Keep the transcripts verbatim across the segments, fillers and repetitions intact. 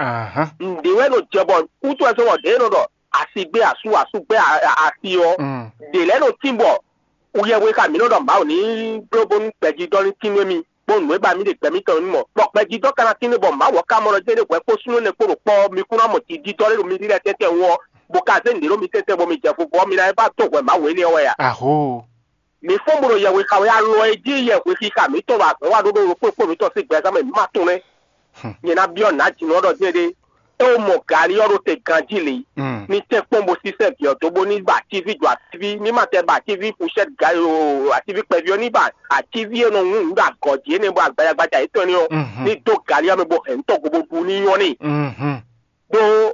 Ahán. Nǔɖé wɛ nɔ jɛ bɔ kútu wɛ sɔ́ bɔ ɖě nɔ ɖɔ asi gbé asú, asú gbé asi ɔ́, ɖě lɛ́ɛ nɔ tín bɔ yɛhwe xa mǐ nɔ ɖɔ Mawu ní bló bónú gbɛjidɔ́ ní tín nú émí, bónú nǔ e ba mǐ ɖe gbɛ mǐtɔn ní mɔ. Bɔ gbɛjidɔ́ ka ná tín nú bɔ Mawu ɔ́ ka mɔ ɖɔ jɛ́n ɖé hwɛ kpó súnnu énɛ́ kpó ɖo kpɔ́ ɔ́, mi kún ná mɔ jijidɔ́ ɖé ɖo mi ɖíɖá tɛ́ntɛn wú ɔ́, bó ka zé nǔɖé ɖó mi tɛ́ntɛn bɔ mi jɛ vovo ɔ́, mi ná yi ba dó hwɛ Mawu énɛ́ ɔ́ wɛ a? Ahoo. Mǐ fɔ́n bó ɖo yɛhwe xa wɛ alɔ e jí yɛhwe xixa mǐtɔn ɖo azɔ̌ wa ɖó ɖo ɖokpó kpó mǐtɔn sín gbɛzán mɛ mǐ ma tunwun nɛ́. Nyɛ ná byɔ́ nǎ jǐnɔ ɖɔ jɛ́n ɖé. É wo mɔ gǎlí ɔ́ ɖo te ganjí lě, ní tɛ́ kpɔ́n bó sísɛ́ vǐ ɔ́ dó bó ní ba atíví jɔ atíví, ní ma tɛ ba atíví fushɛ́t ga o, atíví kpɛví ɔ́ ní ba atíví e nɔ wún nǔ ɖo agɔ̌ jí énɛ́ bɔ agbajagbaja yětɔn énɛ́ ɔ́, ní dó gǎlí ɔ́ mɛ bó hɛn nǔ tɔn go bó ɖu ní nyɔ́ n'i. Ɖó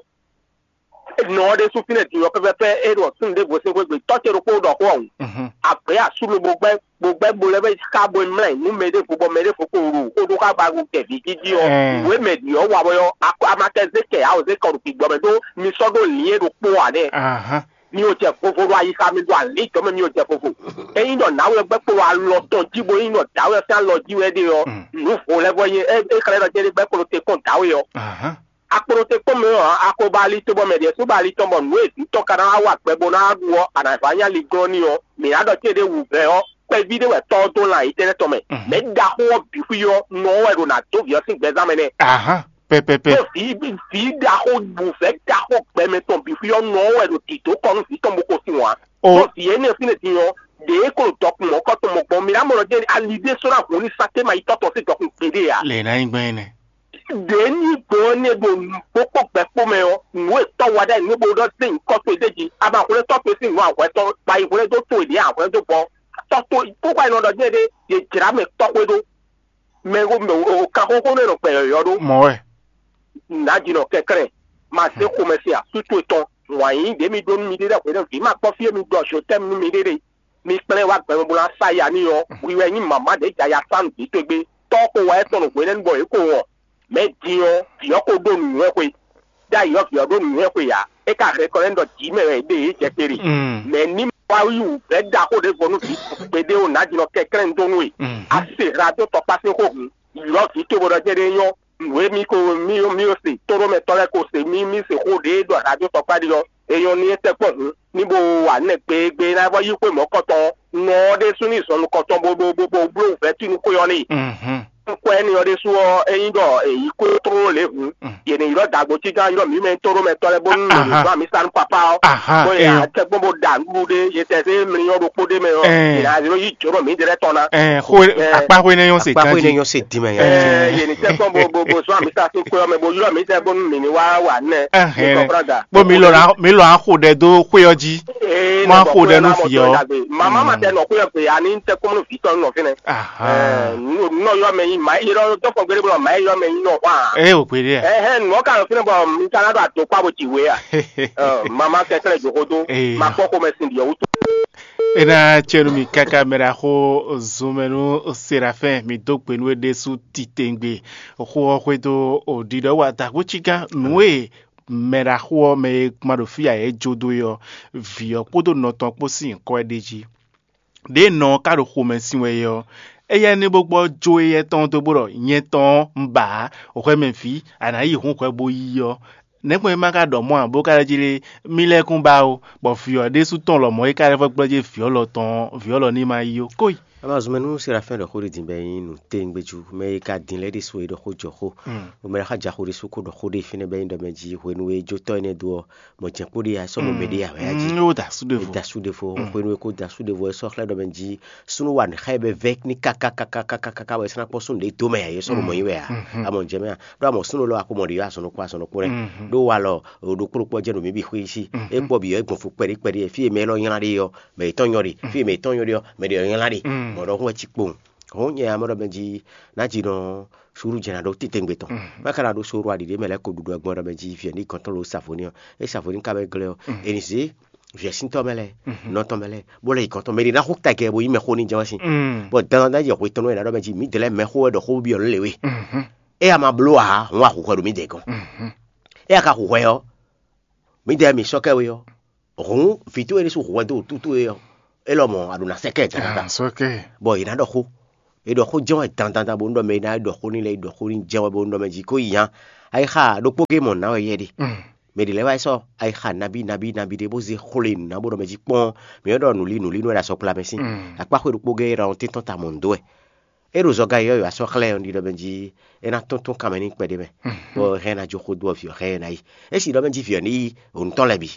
nɔ ɔ́ ɖésú fínɛ́ din ɔ́ pɛ́pɛ́pɛ́ é ɖɔ súnnu ɖěvo sín xwé gbe tɔ́ ce ɖokpó ɖɔ xó ɔ́ hǔn. Agbě asú lobo gbɛ́ bó gbɛ́ bo lɛ́ bɛ́ xá bo mlá nǔ mɛ ɖěvo bɔ mɛ ɖěvo ko ɖo xó ɖó xá ba ɖo kɛ̌ví jíjí ɔ́, nǔ e mɛ ɖi ɔ́ wa wɛ ɔ́, a ma kɛ zé kɛ ǎ o, zé kɔ ɖo gbigbɔ mɛ ɖó mi sɔ́ ɖó lǐn e ɖokpó ǎ nɛ́. Mi ò jɛ vovo ɖo ayixa mi ɖo alǐjɔ mɛ, mi ò jɛ vovo. Ényí ɖɔ nǎwe ɔ́ gbɛ́ kpo ɖo alɔ tɔn jí bo nyí ɖɔ dǎwe ɔ́ sín alɔ jí wɛ é ɖe ɔ́, nǔ vo lɛ́ɛ vɔ nyí é xlɛ́ ɖɔ jɛ́n é gbɛ́ kpo ɖo te kpɔ́n dǎwe ɔ́. Akplo te kpɔ́n mɛ ɔ́, a ko ba ali tɔn bɔ mɛ ɖě sú ba ali tɔn bɔ nǔ e vǐ tɔn ka ná wá wa gbɛ bó ná ɖu ɔ́, a nǎ vǎ nyí ali glɔ́n n'i ɔ́, mǐ ná ɖɔ céɖée wǔvɛ́ ɔ́, kpɛví ɖé wɛ tɔ́ ɔ́ dó lan yi tɛ́nɛ́ tɔn mɛ. Mɛ̌ ɖaxó ɔ́ bǐ xwí ɔ́, nɔ ɔ́ wɛ ɖo nǎ dó vǐ ɔ́ sín gbɛzán mɛ nɛ́. Ahán, pɛpɛpɛ. Ɖó vǐ vǐ ɖaxó wǔvɛ́ ɖaxó gbɛmɛ tɔn bǐ xwí ɔ́, nɔ ɔ́ wɛ ɖo dǐdó kɔ nú vǐ tɔn bó ko sin wǎn. Ɖó vǐ énɛ́ ɔ́ fínɛ́ din ɔ́, ɖě é ko ɖɔ dɔkun mɔ̌kɔtɔn mɔ̌ gbɔn, mi ná mɔ ɖɔ jɛ́n ali ɖé sɔ́ ná hun ní sátɛ́ ma yi tɔ́ tɔn sín dɔkun gbeɖé ǎ. Lě ná nyí gbɛn énɛ́. Ɖě ní gbɔn ɔ́ nɛ́ ɖo nǔgbó kpó gbɛ kpó mɛ ɔ́, nǔ e tɔ́ wa ɖ'ayǐ nú bó ɖɔ zé nyǐkɔ towe d'é jí, a ma hwlɛ́n tɔ́ towe sín nǔ a hwɛ tɔn kpa yi hwlɛ́n dó towe ɖě a hwlɛ́n dó gbɔn. Tɔ́ towe kpókpá e nɔ ɖɔ jɛ́n ɖé, yě jlǎ mɛ tɔ́ xwé ɖó. Mɛ e kanxóxó nɛ nɔ gbɛ yɔ̌yɔ́ ɖó. Mɔ̌ wɛ. Nǎjinɔ kɛnklɛ́n, ma zé xomɛ se asú towe tɔn, wǎn yíyí ɖě mi ɖó nú miɖée ɖɛ́ hwě ɖé vǐ ma kpɔ́ fí e mi ɖɔ zotɛ́mu nú miɖée ɖe. Mi kplɛ́n wá gbɛmɛ bó ná sa ya n'i ɔ́, hwi wɛ nyí mama ɖě jɛ aya sa nǔ vǐ towe gbé. Tɔ́ ɔ́ ko wá ɛ tɔn ɖo hwenɛ́nu bɔ yě ko wɔn. Mɛ̌ din ɔ́, vǐ ɔ́ ko ɖó nǔnywɛ́ xwe. Ɖ'ayǐ ɔ́, vǐ ɔ́ ɖó nǔnywɛ́ xwe ǎ. É ka hɛn kɔ lɛ́ ɖɔ jǐ mɛ wɛ yě ɖe yě jɛ kpé ɖe. Mɛ ní ma wá yí wǔvɛ́ ɖaxó ɖěvo nú vǐ gbeɖé o nǎjinɔ kɛnklɛ́n dó nú we. A se hla dó tɔkpá sín xó hǔn, ylɔ́ vǐ towe bó ɖɔ jɛ́n ɖé nyɔ́. Nǔ e mí ko mí mí se tóɖómɛtɔ́ lɛ́ɛ ko se mí mí se xó ɖě ɖɔ hla dó tɔkpá ɖi ɔ́, é nyɔ́ nú étɛ́ kpɔ́n hǔn, ní bo wa nɛ́ gbégbé ná vɔ yí xwé mɔ̌kɔtɔn ɔ́. Nɔ ɔ́ ɖésú ní zɔn nukɔntɔn bó bó bó bó bló wǔvɛ́ tín nú xwé ɔ́ n'i. Nukɔn énɛ́ ɔ́ ɖésú ɔ́, ényí ɖɔ è yǐ kó tlóló lě hǔn, yě ní ylɔ́ dǎgbó cígán ylɔ́ mǐ mɛ tóɖómɛtɔ́ lɛ́ɛ bónú mǐ zɔ́n amǐsa nú papá ɔ́, bó yě ǎ tɛ́ gbɔn bó ɖa nǔɖuɖu ɖé, yě tɛ zé mlí ɔ́ ɖokpó ɖé mɛ ɔ́, yě ná zé nɔ yí jǒnɔ mǐ ɖě lɛ́ɛ tɔn ná. Ɛ, xó Ɛ, akpá xó énɛ́ nyɔ́ se akpá xó ganjí. Énɛ́ nyɔ́ se dín mɛ nya. Ɛ, yě ní tɛ́ gbɔn bó bó bó zɔ́n amǐsa sín xwé ɔ́ mɛ bó ylɔ́ mǐ tɛ bónú mǐ ní wá wa nɛ. Ɛhɛn. Bó mi lɔ ná mi lɔ axo ɖɛ dó xwé ɔ́ jí. Má xo ɖɛ nú vǐ ɔ́. Mama ma tɛ nɔ xwé ɔ́ gbe ani tɛ kɔmɔ nú vǐ tɔn nɔ fínɛ. Ahan. Nɔ yɔ mɛ yi ma yi lɔ tɔfɔ gbede bɔ ma yi yɔ mɛ yi nɔ hwa. Ɛ o gbede. Ɛhɛn nɔ ka nɔ fínɛ bɔ mi ka na ɖo ato kpa bo ti we a. Mama kɛkɛ lɛ joxo do. Ma kpɔ xomɛ sin diɔ wutu. Ena tsɛnu mi kaka mɛ ɖaxo zunmɛnu Serafin mi dó gbe nú e ɖésú titengbe xó ɔ́ xwedó o ɖiɖɔ wa dagbo cígán nǔ e mɛ ɖaxó ɔ́ mɛ e ma ɖo fí ǎ é jó dó é ɔ́, vǐ ɔ́ kpódó nɔ tɔn kpó sín nyǐkɔ ɛ ɖ'é jí. Ɖěe nɔ ɔ́ ka ɖo xomɛ sin wɛ é ɔ́, éyɛ́ ní bó gbɔ jó éyɛ́ tɔn dó bó ɖɔ nyɛ tɔn ɔ́, un ba ǎ, hwɛ mɛ vǐ, a nǎ yi hǔn hwɛ bó yí ɔ́. Nɛ̌gbɔn é ma ka ɖɔ mɔ̌ ǎ bó ka lɛ́ jí ɖé, mí lɛ́ kún ba ó, bɔ vǐ ɔ́ ɖésú tɔn lɔmɔ̌ é ka lɛ́ vɔ́ gblɔ́ jí vǐ ɔ́ lɔ tɔn, vǐ ɔ́ lɔ ní ma yí ó. Kóyi. Ama zunmɛ nú Serafin ɖɔ xó ɖé din bɛ nyí nǔ téŋgbéjú, mɛ e ka din lɛ́ ɖésú e ɖɔ xó jɔ xó. Mɛ ɖé xá ja xó ɖésú kó ɖɔ xó ɖé fínɛ́ bɛ nyí ɖɔ mɛ jí hwenu e jótɔ́ énɛ́ dó ɔ́, mɔ jɛ̌n kpó ɖé ya sɔ́ mɔ mɛ ɖé ya wɛ ya jí. Ó da sú ɖěvo. Da sú ɖěvo. Hwenu e kó da sú ɖěvo ɔ́ sɔ́ xlɛ́ ɖɔ mɛ jí súnú wa nǔ xá ɛ bɛ vɛ́ ní kákákákákáká wɛ sɔ́ ná kpɔ́ súnnu ɖě dó mɛ ya yě sɔ́ ɖo mɔ nyí wɛ a. Amɔ jɛ mɛ a ɖó amɔ súnnu lɔ a ko mɔ ɖě yɔ azɔn nɔkpɔ azɔn nɔkpɔ nɛ. Ɖó wa lɔ ɖokpó ɖokpó jɛ́n ɖo mǐ bǐ xwé sí. É kpɔ bǐ ɔ́ é gbɔn fo kpɛɖí kpɛɖí fí e mɛ élɔ́ nylá ɖe ɔ́, mɛ yětɔn nyɔ ɖe, fí e mɛ yětɔn nyɔ ɖe ɔ́, mɛ ɖě ɔ́ nylá ɖe. Mɔ̌ ɖɔhun wɛ cí kpowun. Hɔn nyɛ amɔ ɖɔ mɛ jí ná jí nɔ suɖu jɛ na ɖo titengbe tɔn. Má ka na ɖo soro aɖiɖe mɛ lɛ́ ko ɖuɖu agbɔn ɖɔ mɛ jí viɛ ní gɔntɔn lo savoni ɔ́. É savoni ka bɛ glɛ́ ɔ́. Eni zé viɛ síntɔ mɛ lɛ, nɔtɔn mɛ lɛ, bó lɛ yi gɔntɔn mɛ ɖi ná xo tagɛ bo yi mɛ xo ní jɛ wá sin. Bɔ dandan ná yɛ hwe tɔn nɔ yɛ na ɖɔ mɛ jí mǐ dɛlɛ mɛ xo wɛ ɖɔ xó biɔ lě we. É a ma bló a hɔn a xo hwɛ ɖo mǐ dɛ gɔn. É a ka xo hwɛ ɔ́, mǐdɛɛ mǐ sɔ́ kɛ we ɔ́, hǔn vǐ towe ɖésú hwɛ dó wǔtútú we ɔ́, é lɔ mɔ̌ a ɖǒ ná sɛ́ kɛ dandan. Bɔ è nǎ ɖɔ xó. È ɖɔ xó jɛ́n wɛ dandan bónú ɖɔ mɛ e ná ɖɔ xó n'i lɛ́ɛ yi ɖɔ xó n'i jɛ́n wɛ bónú ɖɔ mɛ jí kó yi nya. Ayixa ɖokpó gé mɔ nǎ wɛ yɛ ɖe. Mɛ ɖě lɛ́ɛ wá yi sɔ́ ayixa nabí nabí nabí ɖé bó zé xwle nǔ ná bó ɖɔ mɛ jí kpɔ́n, mǐ wɛ ɖɔ nǔlí nǔlí nú wɛ ɖo asɔkpla mɛ sín. Akpáxwé ɖokpó gé é ɖɔ tɛ́n tɔn ta mɔ nǔ dó wɛ. É ɖo zɔga yɔ́yɔ́ asɔ́ xlɛ́ ɔ́ ɖiɖɔ mɛ jí é ná tɔ́n tɔ́n kanmɛ n'i kpɛɖé mɛ, bɔ hɛn ná jó xó dó ɔ́ vǐ ɔ́ xɛ ɛ ná yi. É sì ɖɔ mɛ jí vǐ ɔ́ ní yi ònú tɔn lɛ́ɛ bǐ,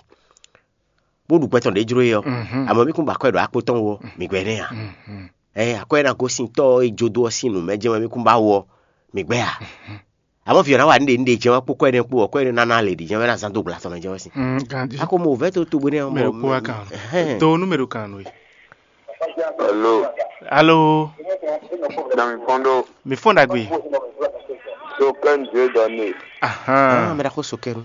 bó ɖu gbɛ tɔn ɖě jló é ɔ́, amɔ̌ mí kún ba akwɛ́ ɖo akpo tɔn wú ɔ́, mǐ gbɛ́ nɛ́ ǎ. Ɛ akwɛ́ ná gosín tɔ́ e jó dó ɔ́ sín nǔ mɛ jɛ́n wɛ mí kún ba wú ɔ́, mǐ gbɛ́ ǎ. Amɔ̌, vǐ ɔ́ ná wa nǔɖé nǔɖé jɛ́n wɛ kpó kwɛ́ nɛ́ kpó ɔ́, kwɛ́ nɛ́ ná ná lě ɖi jɛ́n wɛ ná zán dó gbla tɔn mɛ jɛ́n wɛ sín. Mm, ganjí. A ko mɔ vɛ́ tó togbó nɛ́ ɔ́, mɛ ɖokpó wá kan nú. Ɛhɛn. Do nú mɛ ɖo kan nú we. Alo. Alo. Dami fɔndo. Mi fɔn dagbe. So kɛn de dɔnne. Ahan. Ah, mɛ ɖaxó so kɛnu.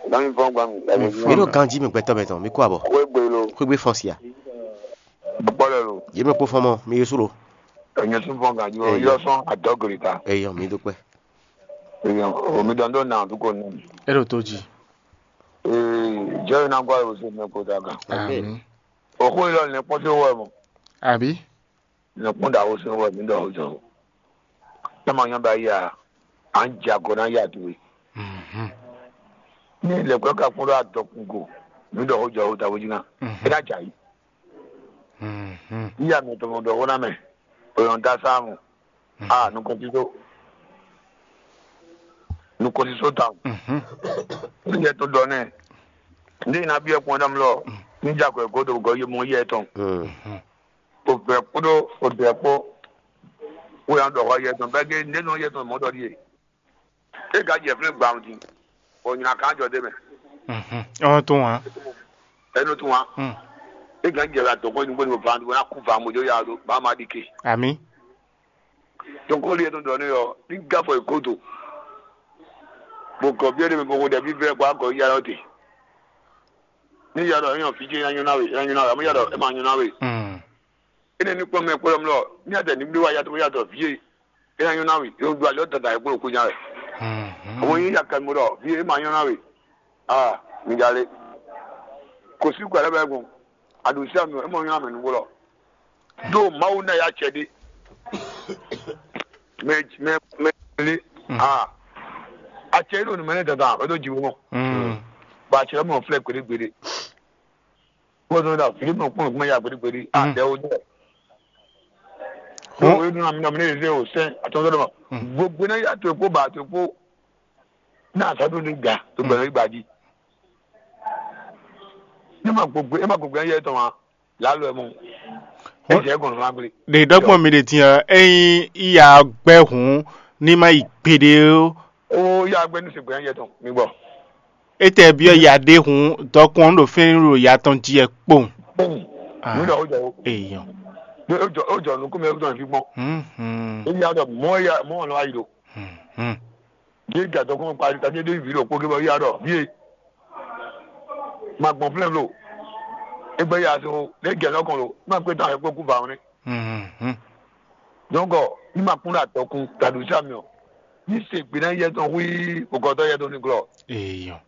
Dami fɔn gba mi. Mi fɔn. Mi ɖo ganjí mi gbɛtɔ mɛ tɔn, mi kó abɔ. Kwe gbe lo. Kwe gbe fɔn sia. Bukpɔ lɛ lo. Yé mi kpó fɔn mɔ, mi yé su lo. Ɛnyɛ sun fɔn ganjí o. Eyɔ. Yɔ sɔn adɔgri ta. Eyɔ, mi dúpẹ́. Eyɔ, o mi dɔn dó na du ko nɛ. E ɖo tó jí. Ee, jɛ na gwa o se mɛ ko da kan. Amen. Amen. O ko ilɔ ne kpɔtɛ wɔ mɔ. Àbí? Ne kpɔn da o se wɔ mi dɔ o jɔ. Tama yan ba ya, an ja ko na ya tu. Mhm. Ni le ko ka kpɔn da dɔ kun ko. Mi dɔ o jɔ o ta o jina. Mhm. E da ja yi. Mhm. Iya mi to mo dɔ o na mɛ. O yon da sa mo. Mhm. Ah, nukɔn ti so. Nukɔn ti so ta. Mhm. Ni je to dɔ ne. Ndi na bi e kpɔn dam lɔ. Ni ja ko e godo go ye mo ye tɔn. Mhm. O bɛ kpodo o bɛ kpo. O yan dɔ ho ye tɔn. Bɛ ge ne no ye tɔn mo dɔ die. E ka jɛ flɛ gba o din. O nyina kan jɔ de mɛ. Mhm. Ɔn tun wa. E no tun wa. Mm. E ka jɛ la dɔgɔ ni gbɔni o van o na ku van mo jo ya do ba ma di ke. Ami. Donc o liɛ tɔn dɔ ne yɔ ni gafɔ e godo. Bo gɔ biɛ de mɛ bo ko dɛ bi vɛ gba gɔ ya yɔ te. Ni ya dɔ e yɔ fi ce ya nyɔ na we, ya nyɔ na we, amu ya dɔ e ma nyɔ na we. Mm. Ene ní kpɔ́n mɛ kplɔ́ mlɔ ní adɛ ní blí wá yàtọ̀ yàtọ̀ vǐ e é ná nyɔ́ ná we, é ɖo ali ɔ́ dada e kplɔ́n kú nya wɛ. Àwọn yín ya kɛmɛ ɖɔ vǐ e é ma nyɔ́ ná we. Aa, mi ja lé. Kò sí gbɛ̌ lɛ́ɛ bɛ gbɔn. Aɖǒ sí àmì ɔ́, é mɔ nyɔ́ ná mɛ nǔgbó lɔ. Ɖó Mawu ná ya acɛ ɖé. Mɛ mɛ mɛ lé. Aa, acɛ é ɖo nǔ mɛ nɛ́ dandan, é ɖó jiwú mɔ. Bɔ acɛ lɛ́ mɔ flɛ́ gbeɖé gbeɖé. Kpɔ́ zɔn ɖa Filipi kpɔ́n gbɛ́ ya gbeɖé gbeɖé. Adɛ wo dɛ. Ko wo nu ami nɔmi ne ze o sɛn atɔn dɔ ma. Gbogbo na ya to kpo ba to kpo. Na sa do ni ga to gbɛ yi ba ji. Ne ma gbogbo e ma gbogbo ya yɛ tɔn ma. La lo mo. E jɛ gɔn ma gble. Ɖe dɔgbɔn mi ɖe tiɲɛ eyin iya gbɛ hun ni ma yi gbeɖe o. O ya gbɛ nu se gbɛ ya yɛ tɔn mi gbɔ. Etɛ biɔ ya ɖe hun dɔkun ɖo fɛn ɖo ya tɔn ji ɛ kpowun. Kpowun. Ah. Mi ɖɔ o jɔ o. Eyɔn. O jɔ o jɔ nukun mi o jɔ fi gbɔn. Mhm. E ya dɔ mɔ ya mɔ lɔ ayi do. Mhm. Ye ga dɔkun kpa ta de de vi ɖo kpo ke bɔ ya dɔ vie. Ma gbɔn flɛn lo. Egbe ya so ne gɛ lɔkɔn lo. Ma kpe tan e kpo ku va ne. Mhm. Donc, ní ma kún ɖo adɔkun taɖo sí ami ɔ́, ní se gbe ná yɛ tɔn hu í bokɔtɔ yɛ tɔn ní glɔ. Eyɔn.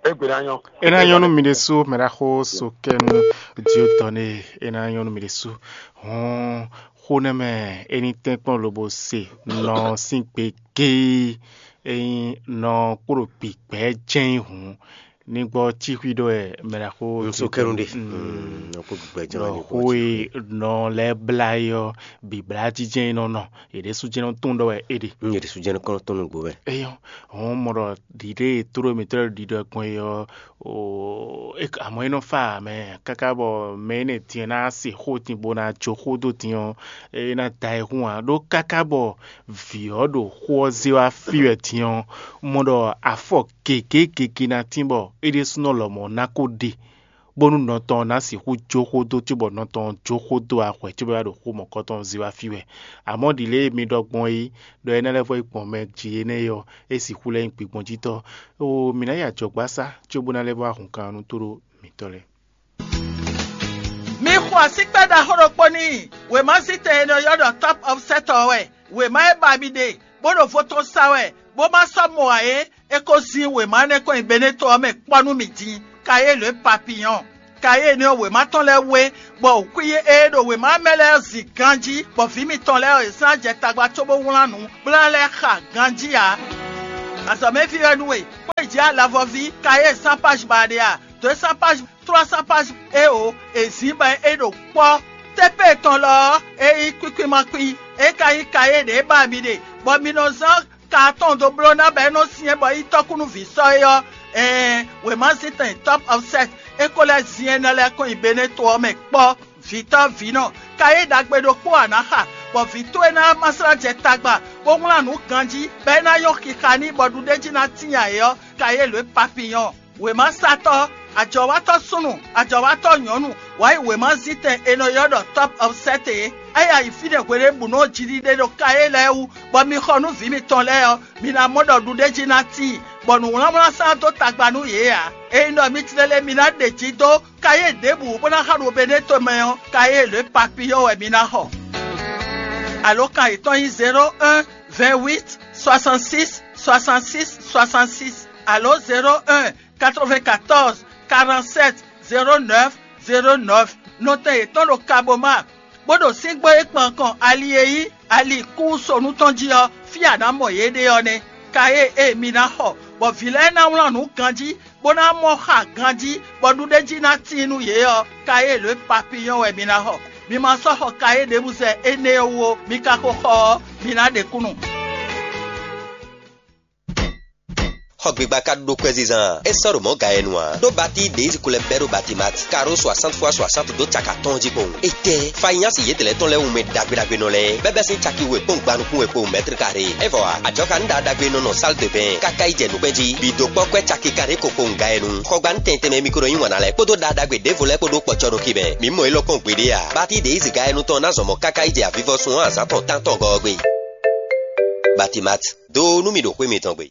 Egbe ná nyɔ. E ná nyɔ́ nú mi ɖésú mɛ ɖaxó so kɛ nú Diotɔn e e ná nyɔ́ nú mi ɖésú. Hɔn xó nɛ́ mɛ é ní tɛ́nkpɔ́n lobo se nɔ sín gbe géé, é nyí nɔ kpó ɖo gbigbɛ̌ jɛ́n hǔn. Ní gbɔ cíxwí ɖó wɛ mɛ ɖaxó Nusokɛnu ɖe. Nɔ kó gbɛjɔ ɖɔ xó e nɔ lɛ́ blá é ɔ́, bǐblá jínjɛ́n é nɔ nɔ. È ɖésú jɛ́n nɔ tún ɖɔ wɛ é ɖe. Yě ɖésú jɛ́n nɔ kɔn tɔn nugbo wɛ. Eyɔn, hɔn mɔ ɖɔ ɖiɖe e tló mǐtɔn ɖiɖɔ gbɔn é ɔ́, amɔ̌ é nɔ fa mɛ káká bɔ mɛ énɛ́ din ná se xó din bó ná jó xó dó din ɔ́, é ná da ayihún ǎ. Ɖó káká bɔ vǐ ɔ́ ɖo xó ɔ́ zé wá fí wɛ din ɔ́, mɔ ɖɔ afɔ gěgé gěgé ná tín bɔ é ɖésúnɔ lɔmɔ̌ ná kó ɖe, bónú nɔ tɔn ná sixú jó xó dó cóbɔ nɔ tɔn jó xó dó axwɛ cóbɔ é wá ɖo xó mɔ̌kɔtɔn zé wá fí wɛ. Amɔ̌ ɖi lě e mi ɖɔ gbɔn é, ɖɔ énɛ́ lɛ́ɛ vɔ yi gbɔn mɛ jí énɛ́ é ɔ́, é sixú lɛ́ nyí gbigbɔnjítɔ́. Oo, mǐ ná yi ajɔ̌gbásá cóbó ná lɛ́ vɔ ahunkan nú tóɖó mǐtɔn lɛ́ɛ. Mi xo asíkpá ɖaxó ɖokpó n'i. Wěmazítɛn e nɔ ylɔ́ ɖɔ Top of Set ɔ́ wɛ. Wěma e ba mi ɖe, bó ɖo vo tɔn sa wɛ, bó ma sɔ́ mɔ ǎ é, é ko zín wěma énɛ́ kɔn nyi Beneto ɔ́ mɛ kpɔ́ nú mì din. Kayélu e papiyɔ́n. Kayélu ɔ́, wěma tɔn lɛ́ɛ wé, bɔ wǔkwín e ɖo wěma ɔ́ mɛ lɛ́ɛ zin ganjí, bɔ vǐ mitɔn lɛ́ɛ ɔ́, yě sɔ́ ná jɛ tagba cóbó wlán nǔ, bó ná lɛ́ xa ganjí ǎ. Azɔ̌mɛví wɛ nú we, xwé jǐ alavɔví kayé cent pages ba ɖe a? Deux cents pages, trois cents pages, éeǒ, è zǐn bɔ é ɖo kpɔ́. Tépé tɔn lɔ ɔ́, é nyí kwíkwímakwi, é ka nyí kayé ɖě ba mi ɖe, bɔ mi nɔ zán ka atɔn dó bló ná bɔ é nɔ syɛ́n bɔ é nyí tɔ́kúnúví sɔ́ é ɔ́, ɛɛn, wěmazíntɛn Top of Set é ko lɛ́ zin énɛ́ lɛ́ɛ kɔn nyi Beneto ɔ́ mɛ kpɔ́. Vǐtɔ́ vǐnɔ, kayé ɖagbe ɖokpó a nǎ xa, bɔ vǐ towe ná ma slá jɛ tagba, bó wlán nǔ ganjí, bɔ é ná nyɔ́ xixa n'i bɔ ɖuɖéjí ná tíin ayǐ ɔ́, kayé lǒ e papiyɔ́n. Wěmasatɔ́, ajɔ̌watɔ́ súnnu, ajɔ̌watɔ́ nyɔ̌nu, wǎ yi wěmazíntɛn è nɔ ylɔ́ ɖɔ Top of Set é. É yi ayǐ fínɛ́ hweɖěbǔnu ɔ́ jiɖiɖe ɖo kayé lɛ́ɛ wú, bɔ mi xɔ nú vǐ mitɔn lɛ́ɛ ɔ́, mi ná mɔ ɖɔ ɖuɖéjí ná tíin, bɔ nǔwlánwlán sán dó tagba nú yě ǎ. Ényí ɖɔ mi tlélé mi ná ɖe jí dó kayé ɖěbǔ bó ná xa ɖo Beneto mɛ ɔ́, kayé lě papiyɔ́ wɛ mi ná xɔ. Alǒkan yětɔn nyí zéro un, vingt huit, soixante six, soixante six, soixante six, alǒ zéro un, quatre-vingt-quatorze, quarante-sept, zéro neuf, zéro neuf. Nɔtɛn yětɔn ɖo Kaboma, bó ɖo síngbó e kpan kɔn ali e nyí ali kúsonu tɔn jí ɔ́, fí a nǎ mɔ yě ɖe ɔ́ nɛ́. Kayé e mi ná xɔ, bɔ vǐ lɛ́ɛ ná wlán nǔ ganjí, bó ná mɔ xa ganjí, bɔ ɖuɖéjí ná tíin nú yě ɔ́, kayé lě papiyɔ́n wɛ mi ná xɔ. Mi ma sɔ́ xɔ kayé ɖěbǔ zɛ énɛ́ ɔ́ wú ó, mi ka ko xɔ ɔ́, mi ná ɖe kúnnu. Xɔgbigba ka ɖó kwɛzizan a? É sɔ́ ɖo mɔ̌ ga e nu ǎ. Ɖó batí ɖě yi ko lɛ́ bɛ́ ɖó Batimat, karó soixante fois soixante dó caka tɔn jí kpowun. Étɛ́! Fanyási yětɛn lɛ́ɛ tɔn lɛ́ɛ wú mɛ ɖagbe ɖagbe nɔ lɛ́ɛ, bɛ́ bɛ́ sín caki we kpɔ́n gba nukún we kpowun mɛ́tri karé. É vɔ ǎ, ajɔ̌ ka nú ɖaɖagbe nɔ nɔ sál de bɛn káká yi jɛ nǔkpɛ́n jí. Bǐ dó kpɔ́ kwɛ́ caki karé ko kpowun ga e nu. Xɔgba nú tɛn tɛnmɛ mi ko nɔ yí wǎn ná lɛ́ɛ kpódó ɖaɖagbe ɖěvo lɛ́ɛ kpó ɖó kpɔ̌cɔ́ nú kí mɛ. Mǐ mɔ élɔ́ kpɔ́n gbeɖé ǎ. Batí ɖě yi ziga e nu tɔn ná zɔn mɔ̌ káká yi jɛ avivɔsun ɔ́ azǎn tɔn tántɔn gɔ́ ɔ́ gbe. Batimat, dó nú mì ɖo xwé mitɔn gbe.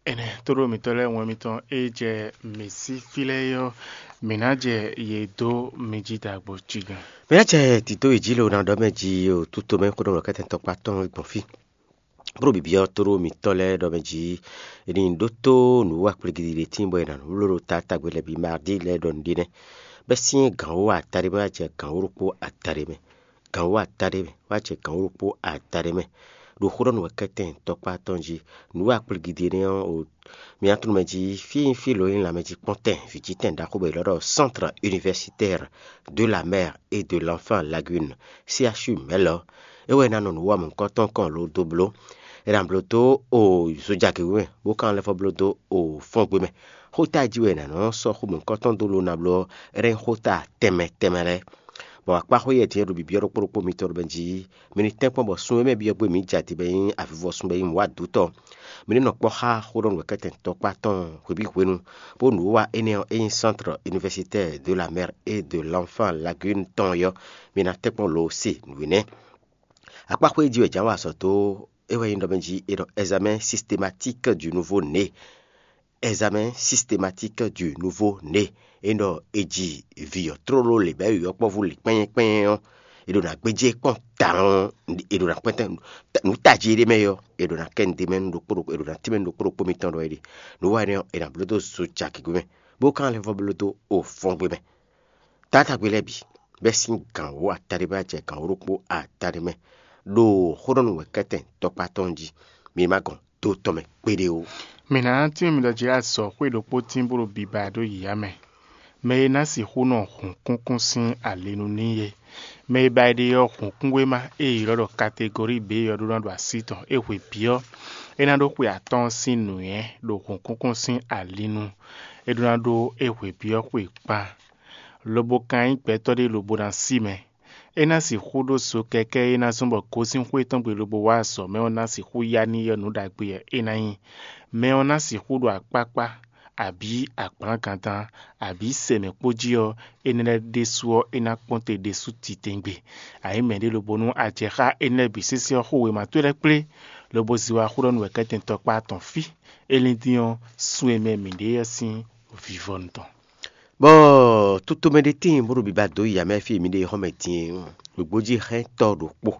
Ɛnɛ tóɖó mǐtɔn lɛ́ɛ wɛn mitɔn e jɛ mǐ sí fí lɛ́ɛ é ɔ́, mǐ ná jɛ yě dó mi jí ɖagbo cí gán. Mǐ ná jɛ tito yi jí lo ná ɖɔ mɛ jí o túto mɛ xó ɖɔ lɔ kɛtɛn tɔkpá tɔn gbɔn fí. Bó ɖo bǐbí ɔ́ tóɖó mǐtɔn lɛ́ɛ ɖɔ mɛ jí è nǐ ɖótó nǔ wa kplígídí ɖé tíin bɔ è nǎ nú bló ɖo taatagbe lɛ́ɛ bǐ mardi lɛ́ɛ ɖɔ nǔɖé nɛ́. Bɛ́ sín gǎn wú ata ɖé mɛ wá jɛ gǎn wú ɖokpó ata ɖé mɛ. Gǎn wú ata ɖé mɛ wá jɛ gǎn wú ɖokpó ata ɖé mɛ. Ɖo xó ɖɔ nú wɛ kɛtɛn tɔkpá tɔn jí. Nǔ wa kplígídí énɛ́ ɔ́, o mǐ tunwun mɛ jí fí e nyí fí lǒ e nyí lanmɛjíkpɔ́ntɛn vǐcítɛn ɖaxó bɔ è ylɔ́ ɖɔ Centre Universitaire de la Mer et de l'Enfant Lagune, C H U mɛ̌ lɔ. É wɛ è nǎ nɔ nǔ wa mɔ̌hunkɔtɔn kɔn lo dó bló. È nǎ bló dó o zojagě mɛ, bó ka nɔ lɛ́ vɔ́ bló dó o fɔ́ngbe mɛ. Xóta e jí wɛ è nǎ nɔ sɔ́ xó mɔ̌hunkɔtɔn dó lo ná bló ɔ́, é ná nyí xóta tɛnmɛ tɛnmɛ lɛ́ɛ. Bɔ akpáxwé yɛtɛn e ɖo bǐbí ɔ́ ɖokpó ɖokpó mitɔn ɖɔ bɛ́ jí mi ní tɛ́nkpɔ́n bɔ sun e mɛ byɔ́ gbé mǐ jɛ ati bɔ é nyí avivɔsun bɔ é nyí nǔwatɔ́. Mi ní nɔ kpɔ́ xá xó ɖɔ nǔ wɛ kɛ́tɛn tɔkpá tɔn hwebǐ hwenu, bó nǔwiwa énɛ́ ɔ́, é nyí Centre Universitaire de la Mer et de l'Enfant Lagune tɔn ɔ́, mi ná tɛ́nkpɔ́n lo se nǔ énɛ́. Akpáxwé jí wɛ jǎn wa azɔ̌ dó é wɛ nyí ɖɔ mɛ jí è ɖɔ examen systématique du nouveau né. Examen systématique du nouveau né. É ɖɔ è ji vǐ ɔ́ tlóló lě bɔ é ɖo yɔkpɔ́vú lě kpɛ́nyɛ́ kpɛ́nyɛ́ ɔ́, è ɖo ná gbéjé kpɔ́n tawun, è ɖo ná kpɛ́ntɛ́ nǔ tají ɖé mɛ ɔ́, è ɖo ná kɛ nǔ ɖé mɛ nú ɖokpó ɖokpó, è ɖo ná tínmɛ nú ɖokpó ɖokpó mitɔn ɖɔ é ɖe. Nǔ wa énɛ́ ɔ́, è nǎ bló dó zo jagěgbe mɛ, bó ka lɛ́ vɔ́ bló dó o fɔ́ngbé mɛ. Taátagbe lɛ́ɛ bǐ, bɛ́ sín gǎn wú ata ɖé mɛ wá jɛ gǎn wú ɖokpó ata ɖé mɛ, ɖo xó ɖɔ nú wɛ kɛ́tɛn tɔkpá tɔn jí. Mi ma gɔn do tɔn mɛ kpéɖé ó. Mǐ ná tínmɛ mi ɖɔ jí azɔ̌ xwé ɖokpó tín bó ɖo biba ɖó yǐyá mɛ. Mɛ e ná sixú nɔ hǔnkúnkún sín ali nu n'i é. Mɛ e ba yi ɖe ɔ́, hǔnkúnwéma e è ylɔ́ ɖɔ kategori B ɔ́ ɖó ná ɖo así tɔn. É hwe bǐ ɔ́, é ná ɖó xwe atɔ́ɔ́n sín nǔnywɛ́ ɖo hǔnkúnkún sín ali nu. É ɖó ná ɖó é hwe bǐ ɔ́ xwe kpan, lobo kan nyí gbɛtɔ́ ɖé lobo ná sí mɛ. É ná sixú ɖó zo kɛkɛ́ e ná zɔ́n bɔ gosín xwé tɔn gbe lobo wá azɔ̌ mɛ ɔ́ ná sixú ya n'i ɔ́ nǔ ɖagbe wɛ é ná nyí. Mɛ ɔ́ ná sixú ɖo akpákpá, abǐ agblǎngantán, abǐ sɛmɛ kpó jí ɔ́, énɛ́ lɛ́ɛ ɖésú ɔ́, é ná kpɔ́n te ɖésú titewungbe. A nyǐ mɛɖé lobo nú a jɛ xá énɛ́ lɛ́ɛ bǐ sésé ɔ́, xó wěma towe lɛ́ɛ kplé, lobo zé wá xó ɖɔ nú wɛ̌kɛ́tɛn tɔkpá tɔn fí. É lín dín ɔ́, sun e mɛ mǐ ɖe ɔ́ sín vivɔnu tɔn. Bɔ tutomɛ ɖé tíin bó ɖo biba dó yi amɛ fí e mǐ ɖe xɔmɛ din é. Wěgbójíxɛ́ntɔ́ ɖokpó.